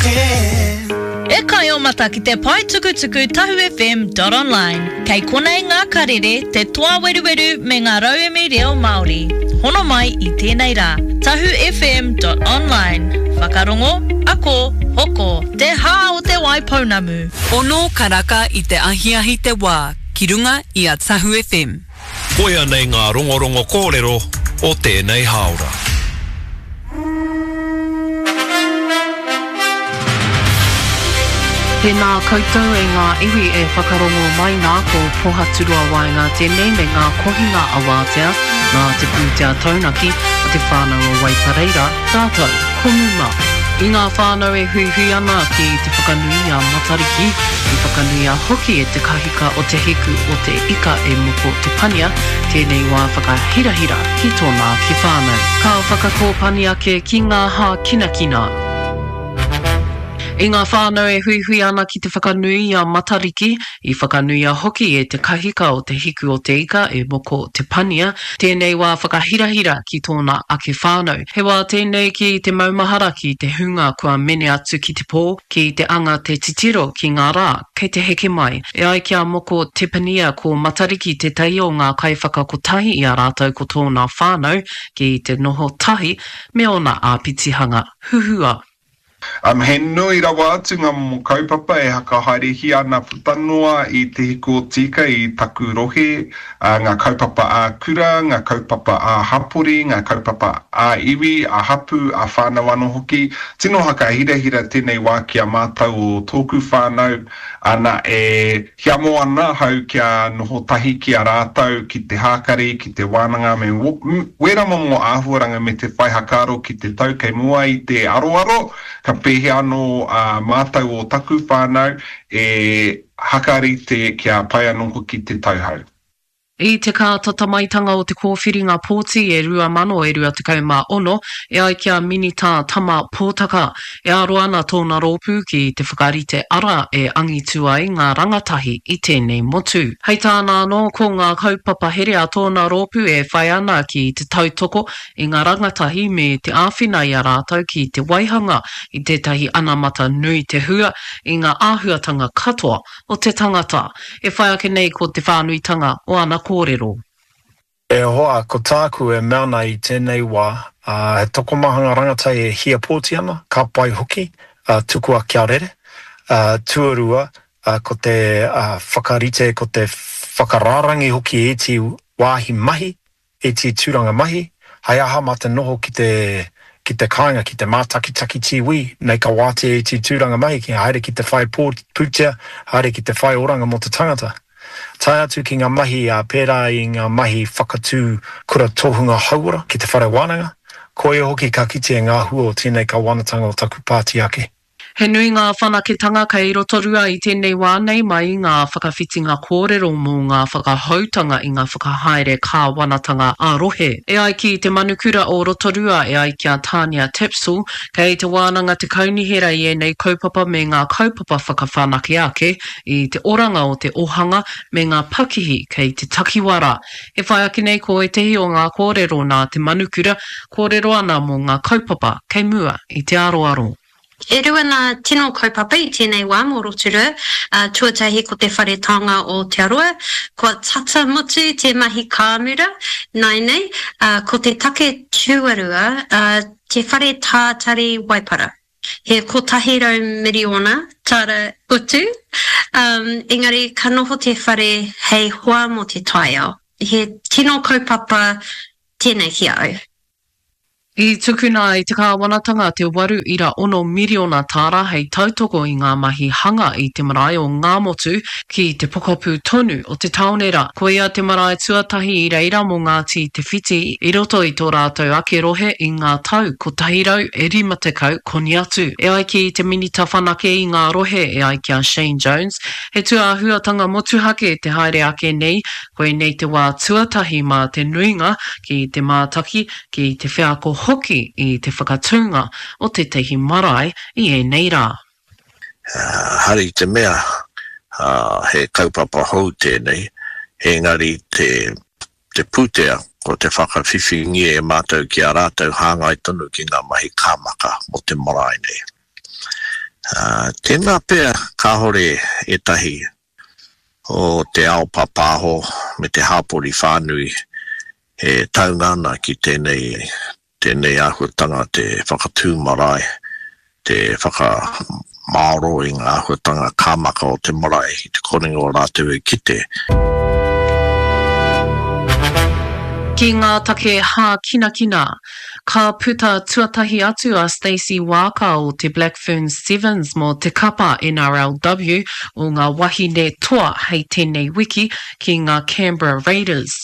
FM. E kai o mata ki te pae tukutuku tahufm.online. Kei konei ngā karere, te toa weruweru me ngā rauemi reo Māori. Hono mai i tēnei rā. Tahufm.online. Whakarongo, ako, hoko, te hā o te Waipounamu. Ono karaka i te ahiahi te wā ki runga i a Tahu FM. Koia nei ngā rongorongo kōrero o tēnei hāora. Tēnā koutou e ngā iwi e whakarongo mai nā, ko Pohaturoa Waenga tēnei me ngā kohinga awātea nā te pūtea taunaki a te whānau o Waipareira rātou ko Muma. I ngā whānau e huihui ana ki te whakanui i a Matariki, i whakanuia hoki e te kahika o Te Hiku o Te Ika e Moko Te Pania tēnei wā whakahirahira ki tōna ake whānau. Ka whakakōpani ake ki ngā hākinakina. I ngā whānau e huihui ana ki te whakanui i a Matariki, i whakanuia hoki e te kahika o Te Hiku o Te Ika e Moko Te Pania tēnei wā whakahirahira ki tōna ake whānau. He wā tēnei ki te maumahara ki te hunga kua mene atu ki te pō, ki te anga te titiro ki ngā rā kei te heke mai. E ai ki a Moko Te Pania ko Matariki tētahi o ngā kaiwhakakotahi i a rātou ko tōna whānau ki te noho tahi me ōna āpitihanga huhua. Um, he nui rawa atu ngā momo kaupapa e hakahaerehia ana puta noa i Te Hiku o Tika i taku rohe, ngā kaupapa ā-kura, ngā kaupapa ā-hapori, ngā kaupapa ā-iwi, ā-hapū, ā-whānau anō hoki. Tino hakahirahira tēnei wā ki a mātou o tōku whānau, ana, e hiamo ana ahau kia noho tahi ki a rātou ki te hākari, ki te wānanga me wērā momo āhuaranga me te whai hakaaro ki te tau kei mua i te aroaro, ka pēhea anō ā mātou o taku whānau e hakarite kia pai anō hoki te tauhou. I te kātata maitanga o te kōwhiringa pōti e 2026, e ai ki a Minita Tama Potaka, e aro ana tōna rōpū ki te whakarite ara e angitu ai ngā rangatahi i tēnei motu. Hei tāna anō, ko ngā kaupapa here a tōna rōpū e whai ana ki te tautoko i ngā rangatahi me te āwhina i a rātou ki te waihanga i tētahi anamata nui te hua i ngā āhuatanga katoa o te tangata. E whai ake nei ko te whānuitanga o ana kōrero. E hoa, ko tāku e mea ana i tēnei wā, he tokomaha ngā rangatahi e hia pōti ana, ka pai hoki, tukua kia rere. Tuarua, ko te whakarite, ko te whakarārangi hoki i ēti wāhi mahi iti tūranga mahi, hei aha mā te noho ki te ki te kāinga, ki te mātakitaki TV, nei ka wātea iti tūranga mahi ki haere ki te whai pūtea, haere ki te whai oranga mō te tangata. Tae atu ki ngā mahi ā pērā i ngā mahi whakatū kura tohunga hauora ki te whare wānanga, koia hoki ka kitea ngā hua o tēnei kawanatanga o taku pāti ake. He nui ngā whanaketanga kei Rotorua i tēnei wā nei mai i ngā whakawhitinga kōrero mō ngā whakahoutanga i ngā whakahaere kāwanatanga ā-rohe. E ai ki te manukura o Rotorua e ai ki a Tania Tapsell, kei te wānanga te kaunihera i ēnei kaupapa me ngā kaupapa whakawhanake ake i te oranga o te ohanga me ngā pakihi kei te takiwā rā. E whai ake nei ko ētehi o ngā kōrero nā te manukura, kōrero ana mō ngā kaupapa kei mua i te aroaro. E rua ngā tino kaupapa i tēnei wā mō Rotorua, tuatahi ko te Whare Taonga o Aotearoa, kua tata mutu te mahi kāmura nāianei, ko te take tuarua, te Whare Tātari Waipara. He 100 miriona tāra utu, engari ka noho te whare hei hoa mō te taiao. He tino kaupapa tēnei ki a au. I tukuna e te kāwanatanga te 8.6 miriona tāra hei tautoko i ngā mahi hanga i te marae o Ngāmotu ki te pokapū tonu o te tāone rā. Koia te marae tuatahi i reira mō Ngāti Te Whiti i roto i tō rātou ake rohe i ngā tau 150 koni atu. E ai ki te Minita Whanake i ngā rohe e ai ki a Shane Jones, he tūāhuatanga motuhake te haere ake nei, koinei te wā tuatahi mā te nuinga ki te mātaki ki te wheako hoki i te whakatūnga o tētahi marae i ēnei rā. Hari i te mea he kaupapa hou tēnei, engari te te pūtea ko te whakawhiwhingia e mātou ki a rātou hāngai tonu ki ngā mahi kāmaka mō te marae nei. Tēnā pea kāore ētahi o te ao pāpāho me te hāpori whānui e taunga ana ki tēnei, tēnei āhuatanga te whakatū marae, te whakamāoro i ngā āhuatanga kāmaka o te marae i te korenga o rātou e kite. Ki ngā take hākinakina, ka puta tuatahi atu a Stacey Waaka o te Black Ferns Sevens mō te kapa NRLW o ngā wahine toa hei tēnei wiki ki ngā Canberra Raiders.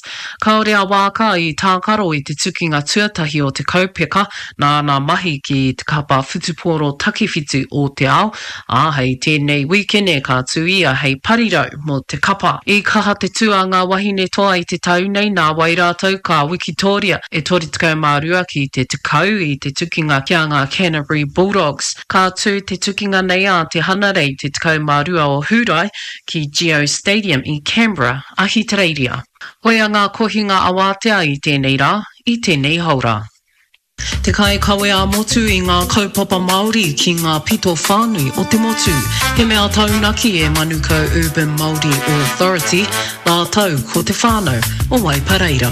Kāore a Waaka i tākaro i te tukinga tuatahi o te kaupeka nāna mahi ki te kapa whutupōro takiwhitu o te ao, ā, hei tēnei wīkene ka tū ia hei parirau mō te kapa. I kaha te tū a ngā wahine toa i te tau nei, nāwai rātou ka wikitōria e 32 ki te 10 i te tukinga ki a ngā Canterbury Bulldogs. Ka tū te tukinga nei ā te Hanarei te 12 o Hūrae ki Geo Stadium i Canberra, Ahitereiria. Koia ngā kohinga awātea i tēnei rā, i tēnei haora. Te kaikawe ā-motu i ngā kaupapa Māori ki ngā pito whānui o te motu. He mea taunaki e Manukau Urban Māori Authority rātou ko te whānau o Waipareira.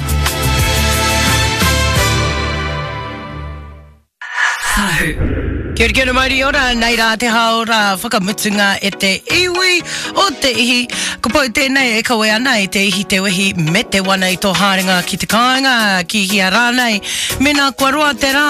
Tahu. Kia ora, kia ora, mauri ora, nei rā te hāora whakamutunga e te iwi o te ihi. Ko Pou tēnei e kawe ana i te ihi, te wehi me te wana i tō haerenga ki te kāinga, ki hea rānei. Mēnā kua roa te rā,